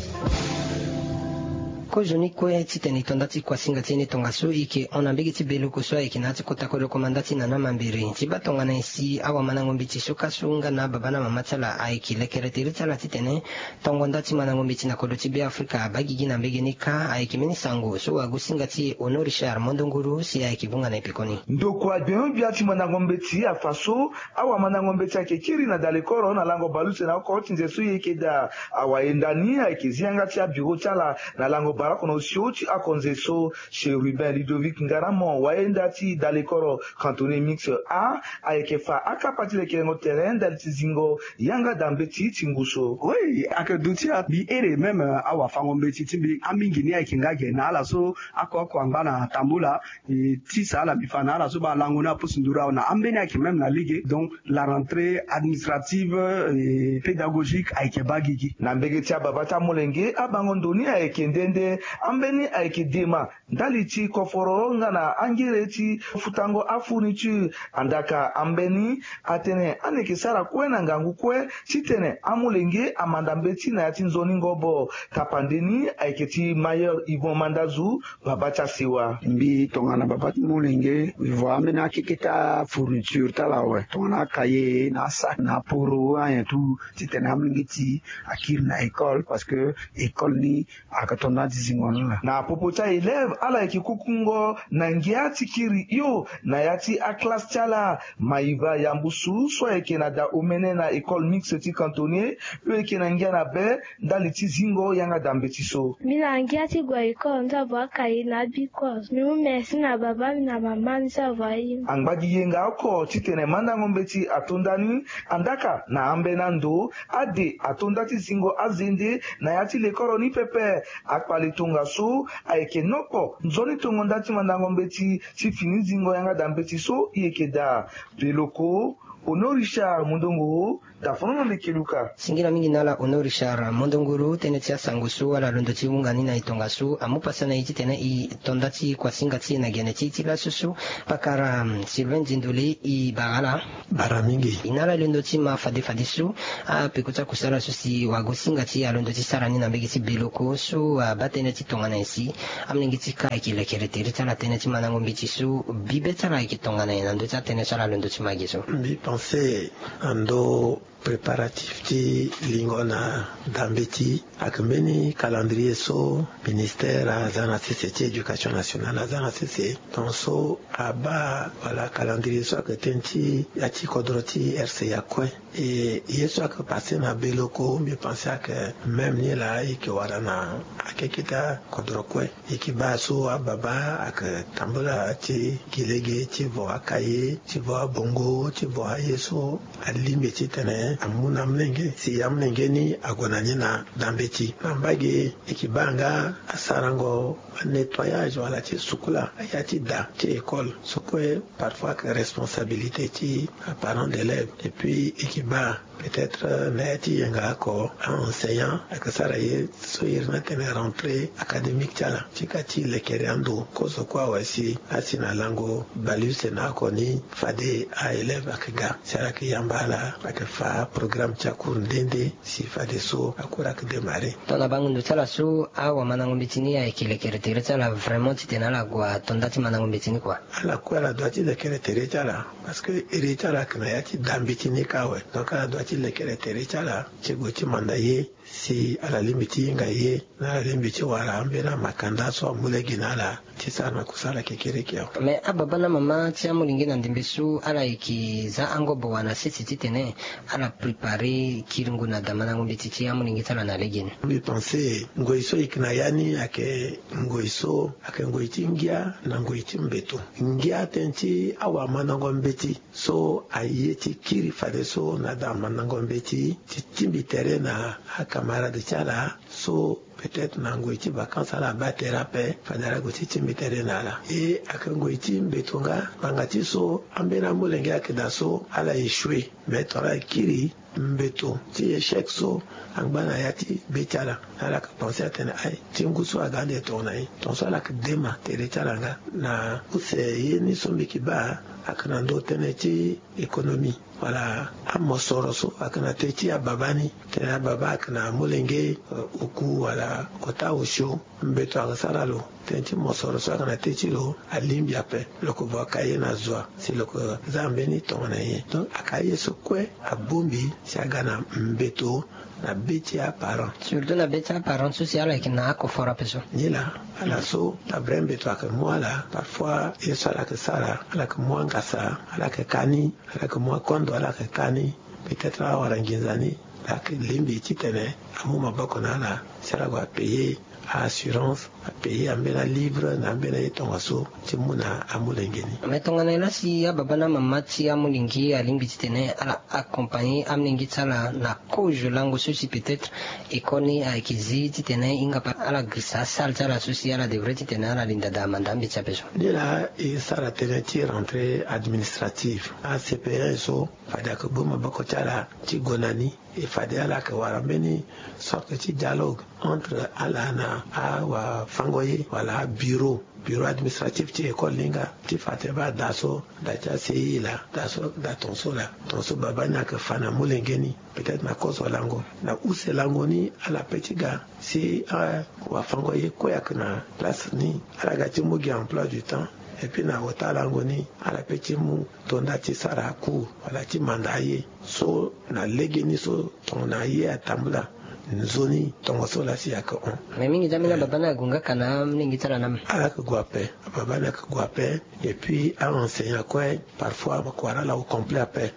Kozoni kue titene e to nda ti kwasinga ti e ni tongaso e yeke hon na mbege ti beleko so ayeke na ya ti kota kodro komanda ti nana mambere ti baa tongana nyen si awamandango mbeti so ka so nga na ababa na amama ti ala ayeke lekere tere ti ala titene tongo nda ti mandango mbeti na kodro ti Beafrika abaa gigi na mbege ni kâ. Ayeke mbeni sango so wagosinga ti e Ono Richard Mondonguru si ayeke vunga na e pekoni. Ndokua gbengbe-gbia ti mandango mbeti afa so awamandango mbeti ayeke kiri na dalekoro na lango baleuse na oko ti nze so e yeke daa. Awayenda ni ayeke zi yanga ti abiro ti ala na lango baleoko na osio ti akonze so. Chérubin Ludovic Ngaramo, wayenda ti dalekoro cantonnier mix A, ayeke fa akapa ti lekerengo tere ndali ti zingo yanga daa mbeti ti ngu so. Oui, ayeke duti mbi iri même awafango mbeti ti mbi, amingi ni ayeke nga ge na ala so oko oko angba na tambula. E tisa ala mbi fa na ala so baa lango ni apusu nduru awe na ambeni ayeke même na lege. Donc la rentrée administrative et pédagogique ayeke baa gigi. Na mbege ti ababa ti amolenge, abango ndo ni ayeke nde nde. Ambeni ayeke dema ndali ti koforo nga na angere ti futango afourniture. Andaka ambeni atene ande yeke sara kue na ngangu kue titene amolenge amanda mbeti na ya ti nzoni ngobo. Tapande ni ayeke ti Mayor Yvon Mandazu, baba ti asewa. Mbi tongana baba ti molenge, mbi voa ambeni akeke ti afourniture ti ala awe, tongana akaye na asac na aporo anyen tout, titene amolenge ti akiri na école, parce que école ni ayeke to nda ti zingo ni laa. Na popo ti aélève, ala yeke kukungo na ngia ti kiri hio na ya ti aclasse ti ala. Maïva Yambusu so ayeke na da omene na école mixte ti cantonnier, hio yeke na ngia na be ndali ti zingo yanga daa mbeti so. Mbi na ngia ti gue école, nzavo akaye na abikos. Mbi mu merci na baba mbi na mama mbi, nzavo aye mbi. Angba gi yenga oko titene mandango mbeti ato nda ni. Andaka na ambeni ando, ade ato nda ti zingo azende na ya ti lekoro ni pepe. Akpale tongaso ayeke nokpo nzoni tongo nda ti mandango mbeti ti fini zingo yanga daa mbeti so e yeke daa. Peleko, Hono Richard Mondonguru, tafono na meke luka. Singila mingi na ala Hono Richard Mondonguru. Tënë ti asango so ala londo ti hunga ni na e tongaso amu pasa na e titene e to nda ti kuasinga ti e na gene ti e ti laso so. Pakara Sylvain Nzindoli, e bara ala. Bara mingi. E na ala londo ti ma fade fadeso. Apeko ti akusala so si wago singa ti e alondo ti sara ni na mbege ti Beloko so abaa tënë ti tongana nyen si amolenge ti ka ayeke lekere tere ti ala tënë ti mandango mbeti so bibe ti ala ayeke tongana nyen na ndö ti atënë so ala londo ti ma ge so? Mbi pense na ndö préparatif ti lingo na da mbeti ayeke mbeni calendrier so ministère aza na sese ti éducation nationale aza na sese. Donc so abaa wala calendrier so ayeke tënë ti ya ti kodro ti R C A kue. E ye so ayeke passe na Beloko, mbi pense ayeke même ni laa e yeke wara na akeke ti akodro kue. E yeke baa so ababa ayeke tambula ti gi lege ti vo akaye, ti vo abongo, ti vo aye so alingbi titene amu na amolenge si amolenge ni ague na ni na da mbeti. Na mbage e yeke baa nga asarango nettoyage wala ti sukula ya ti da ti école so kue parfois ayeke responsabilité ti aparent d'élève. Et puis e yeke baa peut-être na ya ti yenga oko a-enseignant ayeke sara ye so iri ni atene rentrée académique ti ala ti ka ti lekere ando kozo kue awe si asi na lango baleuse na oko ni fade a-élève ayeke ga si ala yeke yamba ala ayeke fa programme ti acours nde nde si fadeso acours ayeke démarrer. Tongana bango ndo ti ala so awamandango mbeti ni ayeke lekere tere ti ala vraiment titene ala gue ato nda ti mandango mbeti ni kua. Ala kue ala dua ti lekere tere ti ala. Parce que iri ti ala ayeke na ya ti da mbeti ni kâ awe. Donc ala dua ti lekere tere ti ala ti gue ti manda ye si ala lingbi ti hinga ye na ala lingbi ti wara ambeni amakanda so amu lege na ala ti sara na kusala kekereke awe. Mais ababa na amama ti amolenge na ndembe so ala yeke za angobo wa na sese titene ala préparer kiringo na da mandango mbeti ti amolenge ti ala na legeni? Mbi pense ngoi so e yeke na ya ni ayeke ngoi so ayeke ngoi ti ngia na ngoi ti mbeto. Ngia tënë ti awamandango mbeti so aye ti kiri fadeso na da mandango mbeti ti tingbi tere na acamarade ti ala so peut-être na ngoi ti vacances ala baa tere ape fade ala gue ti tingbi tere na ala. E ayeke ngoi ti mbeto nga ngbanga ti so ambeni amolenge ayeke daa so ala échouer. Mais tongana ala kiri mbeto ti échec so angba na ya ti be ti ala, ala yeke pense atene aye ti ngu so aga ande tongana nyen? Tongaso ala yeke dema tere ti ala nga na use ye ni so mbi yeke baa ayeke na ndö tënë ti économie wala amosoro so ayeke na tënë ti ababa ni. Tënë ababa ayeke na amolenge, eh, oku wala ota osio. Mbeto ayeke sara lo tënë ti mosoro so ayeke na tënë ti lo alingbi ape. Lo yeke vo akaye na zo wa si lo yeke za mbeni tongana nyen? Donc akaye so kue abongbi si aga na mbeto na be ti aparent. Surtout na be ti aparent so si ala yeke na akoforo ape so. Nilaa ala so na vrai mbeto ayeke mu ala parfois ye so ala yeke sara ala yeke mu angasa, ala yeke ka ni, ala yeke mu akondo ala yeke ka ni. Peut-être awara nginza ni ala yeke lingbi titene amu maboko na ala si ala gue apayer a-assurance, apayer ambeni alivre na ambeni aye tongaso ti mu na amolenge ni. Mais tongana nyen laa si ababa na amama ti amolenge alingbi titene ala accompagner amolenge ti ala na kozo lango so si peut-être école ni ayeke zi titene e hinga pa ala girisa asalle ti ala so si ala devrait titene ala linda daa manda mbeti ape so? Nilaa e sara tënë ti rentrée administrative, a-C P E so fade ayeke bongbi maboko ti ala ti gue na ni. E fade ala yeke wara mbeni sorte ti dialogue entre ala na awafango ye wala abureau, bureau administratif ti école ni nga ti fa tene baa da so da ti a-C I laa, da so da tongaso laa. Tongaso baba ni ayeke fa na molenge ni peut-être na kozo lango na use lango ni ala pe ti ga si awafango ye kue ayeke na place ni ala ga ti mu gi emploi du temps. Et puis na ota lango ni ala pe ti mu to nda ti sara cours wala ti manda aye so na legeni so tongana ye atambula nzoni tongaso laa si ayeke hon. Mais mingi ti ambeni ababa ni ague nga ka na amolenge ti ala na me. Ala yeke gue ape. Ababa ni ayeke gue ape. Et puis a-enseignant kue parfois ayeke wara ala au complet ape.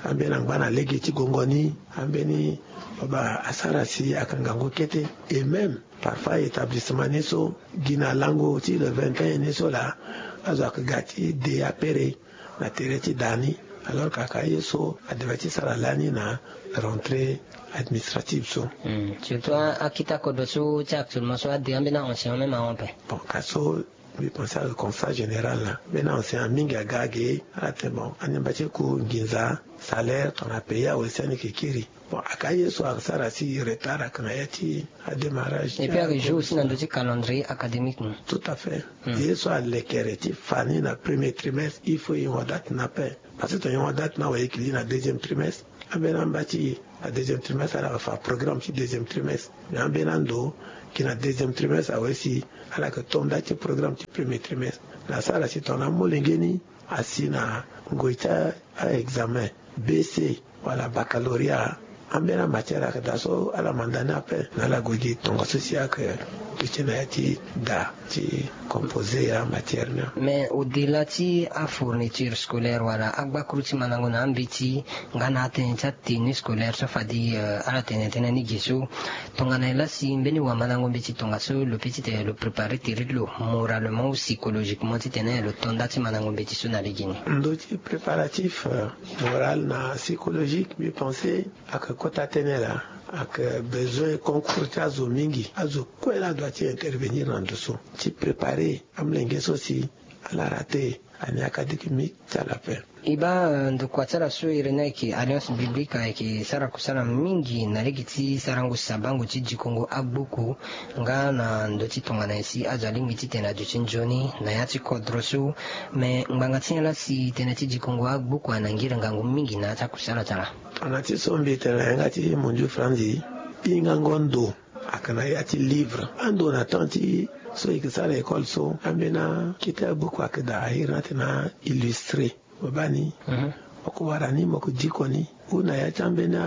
Ambeni angba na lege ti gongo ni. Ambeni baba asara si ayeke ngangu kete. Et même parfois établissement ni so gi na lango ti le vingt et un ni so laa azo ayeke ga ti de apere na tere ti da ni. Alors kaka ye so adevrait ti sara lani na rentrée administrative so. Surtout akita kodro so ti actuellement so ade ambeni a-enseignant même ahon ape. Bon ka so Mbi pense ayeke constat général na mbeni enseignant mingi aga age ala tene bon ande mba ti ku nginza salaire tongana pays awe si ande yeke kiri. Bon aka ye so asara si retard ayeke na ya ti adémarrage. Et puis ayeke jour aussi na ndö ti calendrier académique ni. Tout à fait. Ye so alekere ti fa ni na premier trimestre il faut yengo date na pe. Parce que tongana yengo date na awe yeke li na deuxième trimestre. Ambeni amba ti na deuxième trimestre ala yeke fa programme ti deuxième trimestre. Mais ambeni ando gi na deuxième trimestre awe si ala yeke to nda ti programme ti premier trimestre. Na asara si tongana amolenge ni asi na ngoi ti aexamen bc wala baccalauria. Ambeni amatière ayeke daa so ala manda ni ape na ala gue gi tongaso si ayeke duti na ya ti daa ti composer amatière ni. Mais au delà ti afourniture scolaire wala agbakuru ti mandango na ambeti nga na atënë ti atenue scolaire so fade ala tene tënë ni ge so. Tongana e laa si mbeni wamandango mbeti tongaso lo pe titene lo préparer tere ti lo moralement ou psychologiquement titene lo to nda ti mandango mbeti so na lege ni. Ndö ti préparatif moral na psychologique mbi pense ayeke kota tënë laa. Ayeke besoin concours ti azo mingi azo kue laa adua ti intervenir na ndo so ti préparer amolenge so si ala rater année académique ti ala ape. E baa ndokua ti ala so iri ni ayeke alliance biblique ayeke sara kusala mingi na lege ti sarango sabango ti dikongo agbuku nga na ndö ti tongana nyen si azo alingbi titene aduti nzoni na ya ti kodro so. Me ngbanga ti nyen laa si tënë ti dikongo agbuku ayeke na ngiri ngangu mingi na ya ti akusala ti ala? Tongana ti so mbi tene na yanga ti mondiou franzi hingango ndo ayeke na ya ti livre ando na temps ti so e yeke sara école so ambeni akete agbuku ayeke daa ahiri ni atene aillustré. Mo baa ni mo ko wara ni mo ko diko ni ou na ya ti ambeni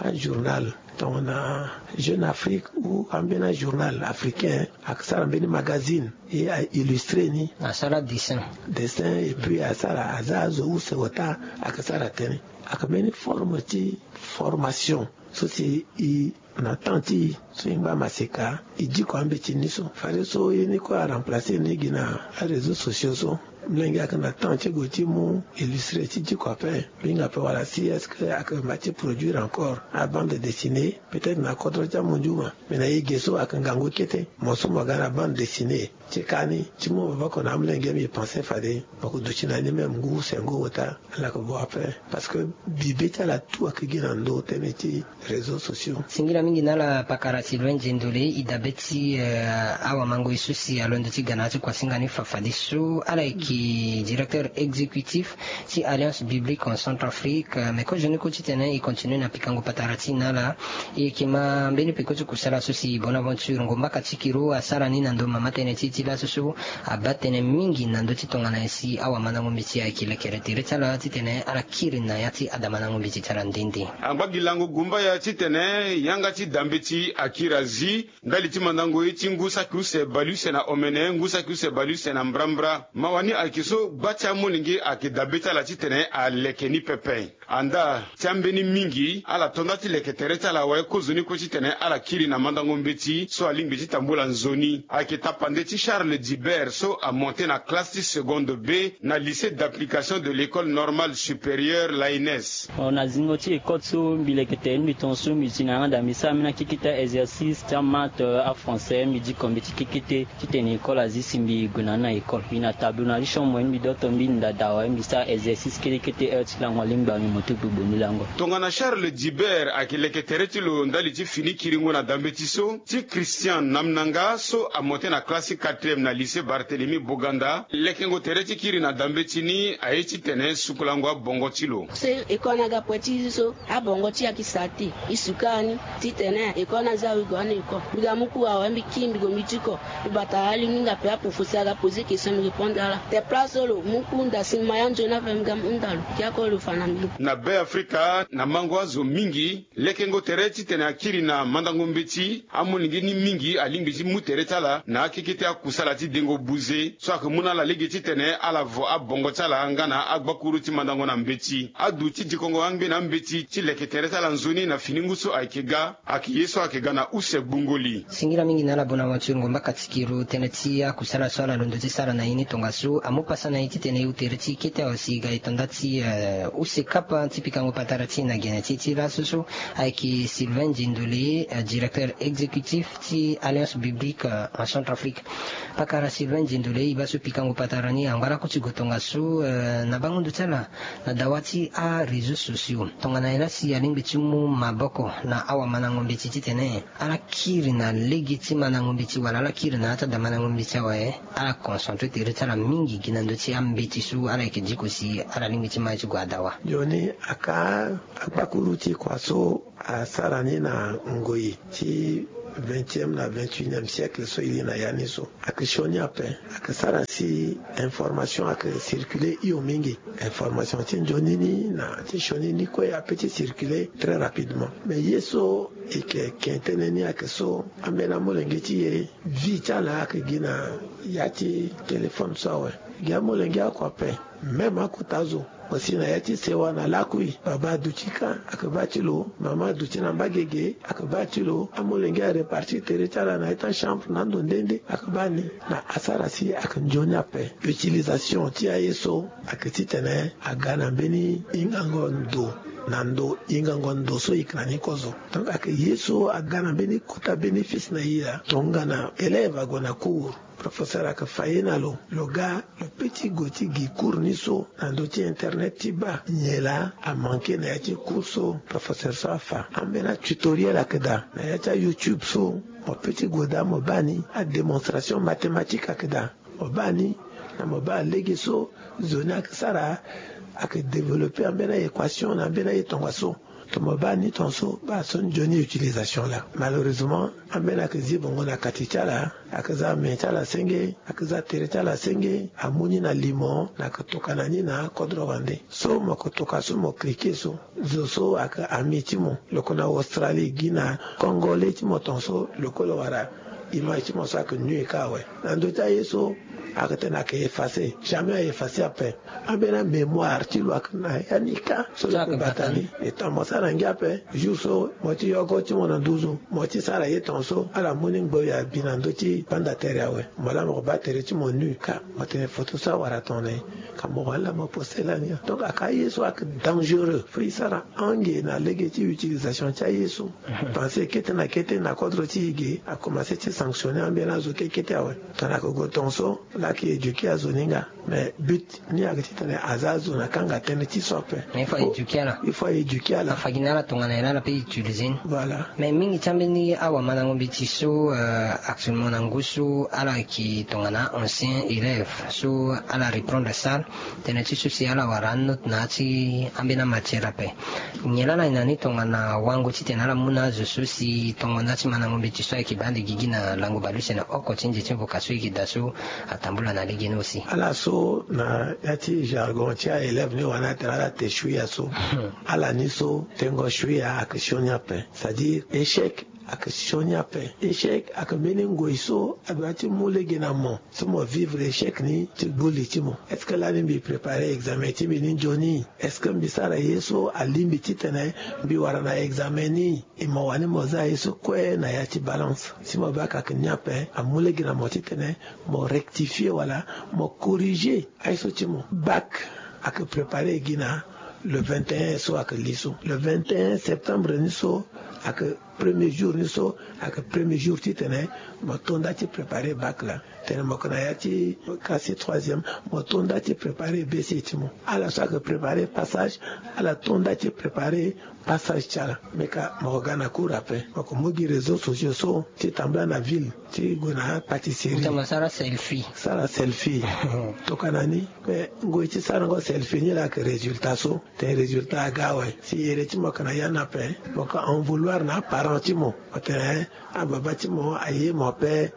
ajournal tongana jeune afrique ou ambeni ajournal africain ayeke sara mbeni magazine e aillustré ni asara dessin. Dessin et puis asara aza azo use ota ayeke sara tënë. Ayeke mbeni forme ti formation so si e na temps ti e so e ngba maseka e diko ambeti ni so fade so ye ni kue aremplacer ni gi na aréseau sociaux so. Molenge ayeke na temps ti gue ti mu illustré ti diko ape. Mbi hinga ape wala si est-ce que ayeke mba ti produire encore abande dessinée peut-être na kodro ti amondiuma. Mais na ye ge so ayeke ngangu kete mo so mo ga na bande dessinée ti ka ni ti mu maboko na amolenge mbi pense fade mo ko duti na ni même ngu sengo ota. Ala yeke bo ape parce que bibe ti ala tout ayeke gi na ndo tënë ti réseau sociaux. Singila mingi na ala pakara ti loin diendole e dabe ti awamangoi so si alondo ti ga na ya ti kuasinga ni fafadeso ala yeke directeur exécutif ti alliance biblique en centrafrique. Mais kozo ni kue titene e continue na pikango patara ti e na ala. E yeke ma mbeni peko ti kusala so si bonaventure ngombaka ti kiro asara ni na ndo mama tënë ti e ti laso so abaa tënë mingi na ndö ti tongana nyen si awamandango mbeti ayeke lekere tere ti ala titene ala kiri na ya ti adamandango mbeti ti ala nde nde. Angba gi lango gumbaya titene yanga ti dambeti akiri azi ndali ti mandango ye ti ngu saki use baleuse na omene ngu saki use baleuse na mbrambra mawa ni ayeke so gba ti amolenge ayeke dabe ti ala titene aleke ni pepe. Anda ti ambeni mingi ala to nda ti leke tere ti ala awe kozoni kue titene ala kiri na mandango mbeti so alingbi ti tambula nzoni ayeke tapande ti charles dibert so amonte na classe ti seconde b na lycée d'application de l'école normale supérieure laines. Na zingo ti école so mbi leke tere ni mbi tongaso mbi ti na yanga daa mbi sara mbeni akekete exercice ti amate afrançais mbi diko mbi ti kekete titene école azi si mbi gue na ni na école mbi na tableau na li chambre ni mbi doto mbi nda daa awe mbi sara exercice kete kete heure ti lango alingba mbi mo ti gbogbo ni lango. Tongana charles dibert ayeke leke tere ti lo ndali ti fini kiringo na dambe ti so ti christian namnanga so amonte na classe ti quatrième na lycée barthélemy boganda lekengo tere ti kiri na dambe ti ni aye titene sukulango abongo ti lo. Se école ni aga poe ti zi so abongo ti e ayeke sara te. E suka ni titene école ni aza awe gue ani école mbi ga mu ku awe mbi kiri mbi gue mbi diko. Mbi bata alingbi nga pe apo fosi aga poser question mbi répondre ala te place so lo mu ku nda si maya nzoni ape mbi ga mu nda lo. Kia ko lo fa na mbi lo. Na be afrika na mango azo mingi lekengo tere titene akiri na mandango mbeti amolenge ni mingi alingbi ti mu tere ti ala na akeke ti akusala ti dengo buze so ayeke mu na ala lege titene ala vo abongo ti ala nga na agbakuru ti mandango na mbeti adu ti dikongo angbe na ambeti ti leke tere ti ala nzoni na Fini ngu so ayeke ga, ayeke ye so ayeke ga na use gbungo li. Singila mingi na ala bona waturugu mbaka ti kiro tënë ti akusala so ala londo ti sara na ye ni tongaso amu pasa na ye titene e hu tere ti kete awe si e ga e tonda ti eh, use kapa ti pikango patara ti e na gene ti e ti laso so ayeke Sylvain Diendolé, eh, directeur exécutif ti Alliance Biblique eh, en Centrafrique. Pakara Sylvain Diendolé, e baa so pikango patara ni angba lakue ti gue tongaso eh, na bango ndo ti ala na dawa ti aréseaux sociaux. Tongana nyen la si alingbi ti mu maboko na awamandango mbeti titene ala kiri na lege ti mandango mbeti wala ala kiri na ya ti adamandango mbeti awe, ala concentré tere ti ala mingi gi na ndö ti ambeti so ala yeke diko si ala lingbi ti ma ye ti gue adawa. Nzoni aka akpakuru ti kua so asara ni na ngoi ti vingtième na vingt-et-unième siècle so e li na ya ni so. Ayeke sioni ape, ayeke sara si information ayeke circuler hio mingi. Information ti nzoni ni na ti sioni ni kue ape ti circuler très rapidement. Mais ye so e yeke ke tënë ni ayeke so, ambeni amolenge ti e, vie ti ala ayeke gi na ya ti téléphone so awe. Gi amolenge oko ape, même akota azo, mo si na ya ti sewa na lakui, baba aduti kâ, ayeke baa ti lo, mama aduti na mbagege, ayeke baa ti lo, amolenge arepartir tere ti ala na ya ti achambre na ando nde nde, ayeke baa ni. Na asara si ayeke nzoni ape. Utilisation ti aye so ayeke titene aga na mbeni hingango ndo, na ndo hingango ndo so e yeke na ni kozo. Donc ayeke ye so aga na mbeni kota bénéfice na e laa. Tongana élève ague na cours, professeur ayeke fa ye na lo, lo ga, lo peut ti gue ti gi cours ni so na ndö ti internet ti baa nyen laa amanke na ya ti cours so professeur so afa. Ambeni atutoriel ayeke daa na ya ti aYouTube so, mo peut ti gue daa mo baa ni, adémonstration mathématique ayeke daa mo baa ni. Na mo baa lege so zo ni ayeke sara, ayeke développer ambeni aéquation na ambeni aye tongaso. Tongana mo baa ni tongaso, baa so nzoni utilisation laa. Malheureusement, ambeni ayeke zi bongo na kati ti ala, ayeke za me ti ala senge, ayeke za tere ti ala senge, amu ni na limo, na ayeke tokana ni na akodro wande. So mo yeke toka so mo cliquer so, zo so ayeke ami ti mo, lo yeke na Australie, gi na Congolais ti mo tongaso, lo kue lo wara image ti mo so ayeke nu e kâ awe. Na ndö ti aye so, ayeke tene ayeke effacer. Jamais a-effacer ape. Ambeni amémoire ti lo ayeke na ya ni kâ. So lo yeke bata ni. E tene mo sara ngia ape. Jour so mo ti yogo ti mo na nduzu, mo ti sara ye tongaso, ala mu ni ngbe ya bi na ndö ti banda tere awe. Mo laa mo yeke baa tere ti mo nu kâ. Mo tene photo so awara tongana nyen? Ka mo wani laa mo poster lani. Donc ayeke aye so ayeke dangereux. Fo e sara ange na lege ti utilisation ti aye so. Pensé kete na kete na kodro ti e ge, akomanse ti sanctionner ambeni azo kete kete awe. Tongana ayeke gue tongaso, laa ayeke éduquer azo ni nga. Mais but ni ayeke titene aza azo na kanga tënë ti so ape. Mais il faut éduquer ala. Il faut éduquer ala. Afa gi na ala tongana nyen laa ala peut utiliser ni. Voilà. Mais mingi ti ambeni awamandango mbeti so, euh, actuellement na ngu so ala yeke tongana ancien élève so ala reprendre salle. Tënë ti so si ala wara anote na ya ti ambeni amatière ape. Nyen laa ala yeke na ni tongana wango titene ala mu na azo so si tongo na ya ti mandango mbeti so ayeke baa ande gigi na lango baleuse na oko ti nze ti mvuka so e yeke daa so atambula na legeni aussi. Ala so na ya ti jargon ti a-élève ni wani atene ala te shuia so. Ala ni so tengo shuia ayeke sioni ape. C'est-à-dire échec ayeke sioni ape. Échec ayeke mbeni ngoi so adoit ti mu lege na mo. So mo vivre échec ni ti gbu li ti mo. Est-ce que lani mbi préparer examen ti mbi ni nzoni? Est-ce que mbi sara ye so alingbi titene mbi wara na examen ni? E mo wani mo za ye so kue na ya ti balance. Si mo baa ka ayeke ni ape, amu lege na mo titene mo rectifier wala mo corriger aye so ti mo. Bac ayeke préparer gi na le vingt et un so ayeke li so. Le vingt et un septembre ni so ayeke premier jour ni so, ayeke premier jour titene mo to nda ti préparer bac laa. Tene mo yeke na ya ti classe ti troisième, mo to nda ti préparer B C ti mo. Ala so ayeke préparer passage, ala to nda ti préparer passage ti ala. Me ka mo yeke ga na cour ape, mo yeke mu gi réseaux sociaux so ti tambula na ville ti gue na pâtisserie. Tongana sara selfie. Sara selfie. Tokana ni. Me ngoi ti sarango selfie ni laa ayeke résultat so. Tene résultat aga awe. Si ere ti mo yeke na ya ni ape, mo yeke en vouloir na aparent ti mo. Mo tene, eh, ababa ti mo aye mo ape,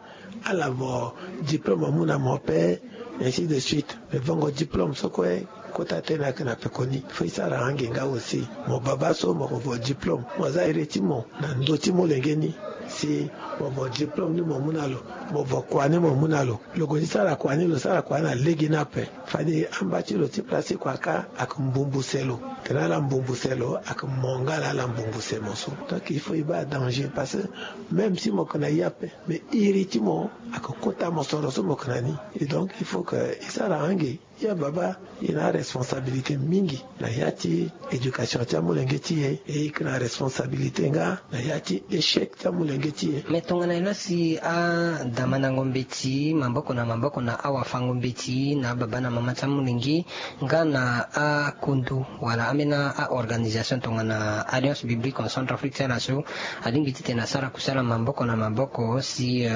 ala vo diplôme amu na mo ape, ainsi de suite. Me vongo diplôme so kue, kota tënë ayeke na pekoni. Fo e sara ange nga aussi. Mo baba so mo yeke vo diplôme, mo za ere ti mo na ndö ti molenge ni. Si mo vo diplôme ni mo mu na lo, mo vo kua ni mo mu na lo. Lo gue ti sara kua ni, lo sara kua ni na lege ni ape. Fade amba ti lo ti place ti kua kâ ayeke mbumbu se lo. Tena ala mbumbu se lo ayeke mo nga laa ala mbumbu se mo so. Donc il faut e baa danger parce que même si mo yeke na ye ape, mais iri ti mo ayeke kota mosoro so mo yeke na ni. Et donc il faut que e sara ange. Ya baba, e na aresponsabilité mingi na ya ti éducation ti amolenge ti e. E yeke na responsabilité nga na ya ti échec ti amolenge ti e. Me tongana e laa si adamandango mbeti maboko na maboko na awafango mbeti na ababa na mama ti amolenge nga na akondo wala ambeni aorganisation tongana Alliance Biblique en Centrafrique ti ala so alingbi titene asara kusala maboko na maboko si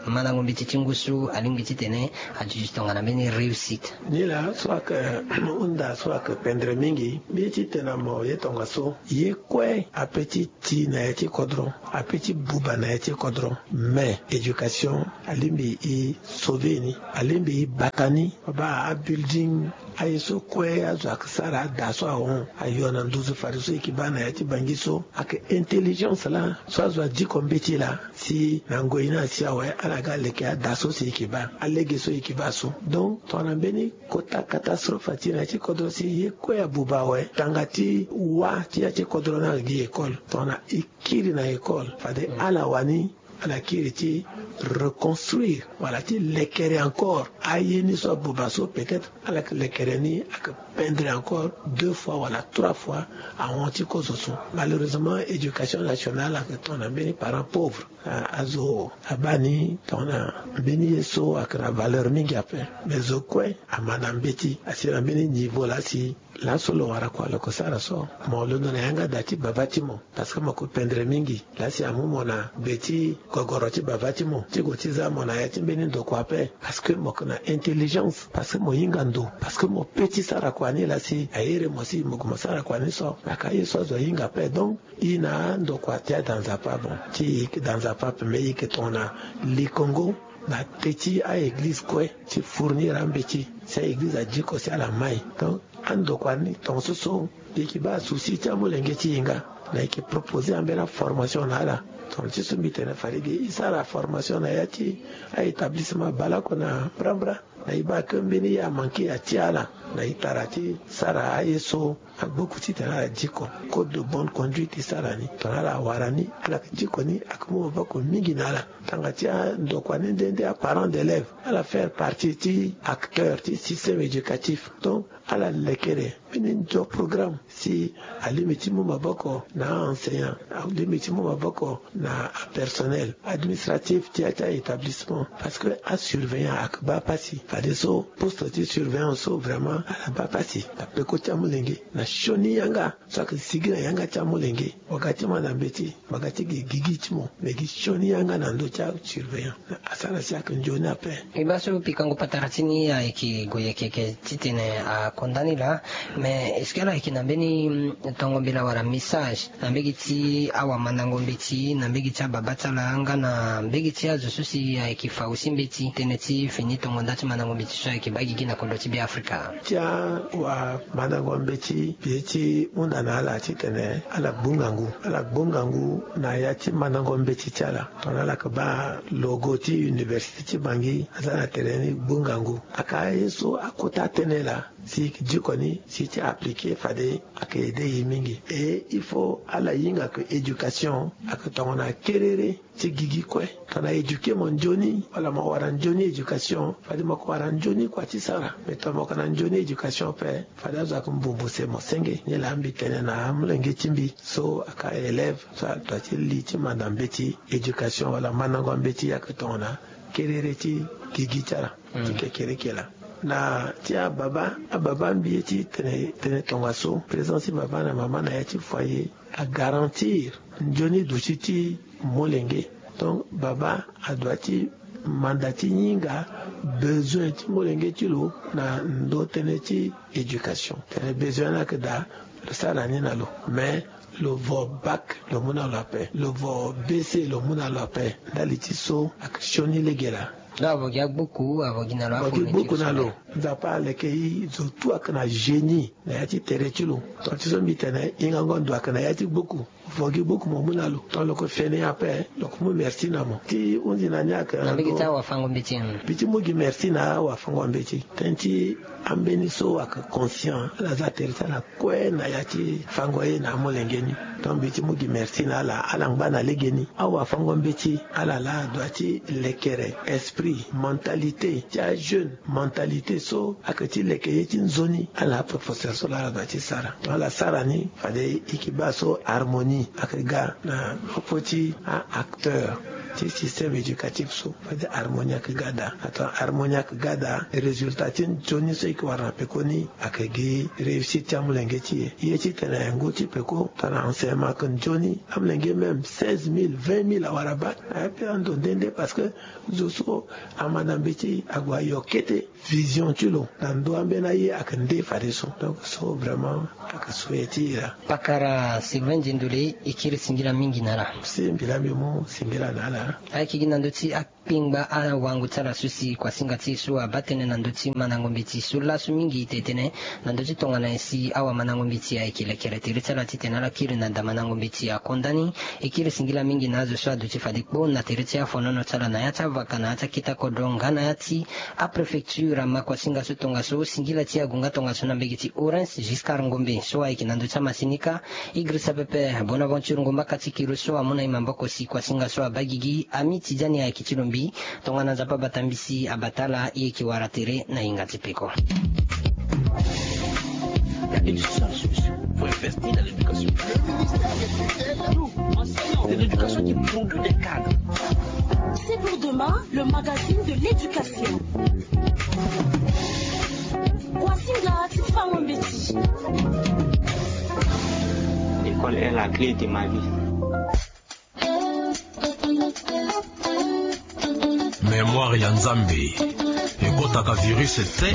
mandango mbeti ti ngu so alingbi titene aduti tongana mbeni réussite. Nilaa so ayeke hunda so ayeke pendere mingi. Mbi ye ti tene na mo ye tongaso, ye kue ape ti ti na ya ti kodro, ape ti buba na ya ti kodro. Mais éducation alingbi e sauver ni, alingbi e bata ni. Baba abuilding aye so kue azo ayeke sara ada so ahon ayo na nduzu fadeso e yeke baa na ya ti bangi so ayeke intelligence laa so azo adiko mbeti laa. Si na ngoi ni asi awe ala ga leke ada so si e yeke baa alege so e yeke baa so. Donc tongana mbeni kota catastrophe ati na ya ti kodro si ye kue abuba awe tanga ti wâ ti ya ti kodro ni ayeke gi école. Tongana e kiri na école fade ala wani ala kiri ti reconstruire wala ti lekere encore aye ni so abuba so peut-être ala yeke lekere ni ayeke pendre encore deux fois wala trois fois ahon ti kozo so. Malheureusement éducation nationale ayeke tongana mbeni parent pauvre. Azo abaa ni tongana mbeni ye so ayeke na valeur mingi ape. Mais zo kue amanda mbeti asi na mbeni niveau laa si laso lo wara kua lo yeke sara so. Mo londo na yanga da ti baba ti mo parce que mo yeke pendere mingi. Laa si amu mo na gbe ti gogoro ti baba ti mo ti gue ti za mo na ya ti mbeni ndokua ape. Parce que mo yeke na intelligence parce que mo hinga ndo parce que mo pe ti sara kua ni laa si ahere mo si mo gue mo sara kua ni so. Aka ye so azo ahinga ape donc. E na andokua ti ada nzapa bon ti e yeke da nzapa ape mais e yeke tongana likongo na te ti a-eglize kue ti fournir ambeti si a-eglize adiko si ala mai. Donc andokua ni tongaso so e yeke baa souci ti amolenge ti e nga. Na e yeke proposer ambeni aformation na ala. Tongana ti so mbi tene fade ge e sara formation na ya ti a-établissement baleoko na mbrambra. Na e baa ke mbeni ye amanke atia ala na e tara ti sara aye so agboku titene ala diko. Code de bonne conduite e sara ni tongana ala wara ni ala yeke diko ni ayeke mu maboko mingi na ala. Tanga ti andokua ni nde nde aparent d'élève ala faire partie ti acteur ti système éducatif. Donc ala lekere mbeni nzo programme si alingbi ti mu maboko na a-enseignant alingbi ti mu maboko na apersonnel administratif ti a ti a-établissement. Parce que asurveillant ayeke baa pasi fadeso poste ti surveillant so vraiment ala baa pasi na peko ti amolenge na sioni yanga so ayeke sigi na yanga ti amolenge. Waga ti manda mbeti waga ti gi gigi ti mo me gi sioni yanga na ndö ti asurveillant. Asara si ayeke nzoni ape. E baa so pikango patara ti ni ayeke gue yeke yeke titene akonda ni laa. Mais est-ce que ala yeke na mbeni tongo mbela wala message na mbege ti awamandango mbeti na mbege ti ababa ti ala nga na mbege ti azo so si ayeke fa aussi mbeti tënë ti fini tongo nda ti mandango mbeti so ayeke baa gigi na kodro ti Beafrika? Ti awamandango mbeti mbi ye ti hunda na ala titene ala gbu ngangu ala gbu ngangu na ya ti mandango mbeti ti ala. Tongana ala yeke baa logo ti université ti bangi aza na tere ni gbu ngangu. Aka aye so akota tënë laa si e yeke diko ni si e ti appliquer fade ayeke aider e mingi. Et il faut ala hinga ke éducation ayeke tongana kerere ti gigi kue. Tongana éduquer mo nzoni wala mo wara nzoni éducation fade mo yeke wara nzoni kua ti sara. Mais tongana mo yeke na nzoni éducation ape fade azo ayeke mbumbu se mo senge. Nilaa mbi tene na amolenge ti mbi so aka élève so adua ti li ti manda mbeti éducation wala mandango mbeti ayeke tongana kerere ti gigi ti ala ti kekereke laa. Na ti ababa ababa mbi ye ti tene tene tongaso présence ti baba na mama na ya ti foyer agarantir nzoni duti ti molenge. Donc baba adua ti manda ti hinga besoin ti molenge ti lo na ndö tënë ti éducation. Tene besoin ni ayeke daa lo sara ni na lo. Mais lo vo bac lo mu na lo ape lo vo bc lo mu na lo ape. Ndali ti so ayeke sioni lege laa. Avo gi agbuku avo gi na lo avo gi gbuku na lo. Nzapa aleke i zo tu ayeke na génie na ya ti tere ti lo. Tonga ti so mbi tene hingango ndo ayeke na ya ti gbuku. Vo gi gbuku mo mu na lo tonga lo yeke fene ape lo yeke mu merci na mo ti hunzi na ni ayeke na mbege ti awafango mbeti. Mbi ti mu gi merci na awafango mbeti tënë ti Ambeni so ayeke conscient, ala za tere ti ala kue na ya ti fango ye na amolenge ni. Donc mbi ti mu gi merci na ala. Ala ngba na legeni, awafango mbeti ala laa adua ti lekere esprit, mentalité ti ajeune, mentalité so ayeke ti leke ye ti nzoni. Ala na aprofesseur so laa ala dua ti sara. Ala sara ni fade e ke baa so harmonie ayeke ga na popo ti a-acteur ti système éducatif so. Fade harmonie ayeke ga daa. Ato harmonie ayeke ga daa, résultat ti nzoni so e ke wara na peko ni ayeke gi réussite ti amolenge ti e. Ye titene ngu ti peko tongana enseignement ayeke nzoni, amolenge même seize mille, vingt mille awara bac. Aye pe ando nde nde parce que zo so ama na mbeti ague ayo kete vision ti lo na ndö ambeni aye ayeke nde fadeso. Donc so vraiment ayeke so ye ti e laa. Pakara Sylvain Diendole, e kiri singila mingi na ala. Si mbi laa mbi mu singila na ala. Ayeke gi na ndö ti akpengba awango ti ala so si kuasinga ti e so abaa tënë na ndö ti mandango mbeti so laso mingi e tene tënë na ndö ti tongana nyen si awamandango mbeti ayeke lekere tere ti ala titene ala kiri na daa mandango mbeti akonda ni. E kiri singila mingi na azo so aduti fade kpo na tere ti afonono ti ala na ya ti avaka na ya ti akete kodro nga na ya ti apréfecture ama kuasinga so tongaso. Singila ti agu nga tongaso na mbege ti Orens Giscard Ngombe so ayeke na ndö ti amasini kâ. E girisa pepe Bonaventure Ngomba Katikiro so amu na e maboko si kuasinga so abaa gigi. Ami ti dia ni ayeke ti lo mbi. Tongana Nzapa abata mbisi abata ala, e yeke wara tere na hinga ti peko. Il y a une seule solution pour investir dans l'éducation. Nous, enseignants de l'éducation qui produit des cadres. C'est pour demain, le magazine de l'éducation. Kuasinga ti fango mbeti. L'école est la clé de ma vie. Mémoire ya Nzambe ekotaka virus te.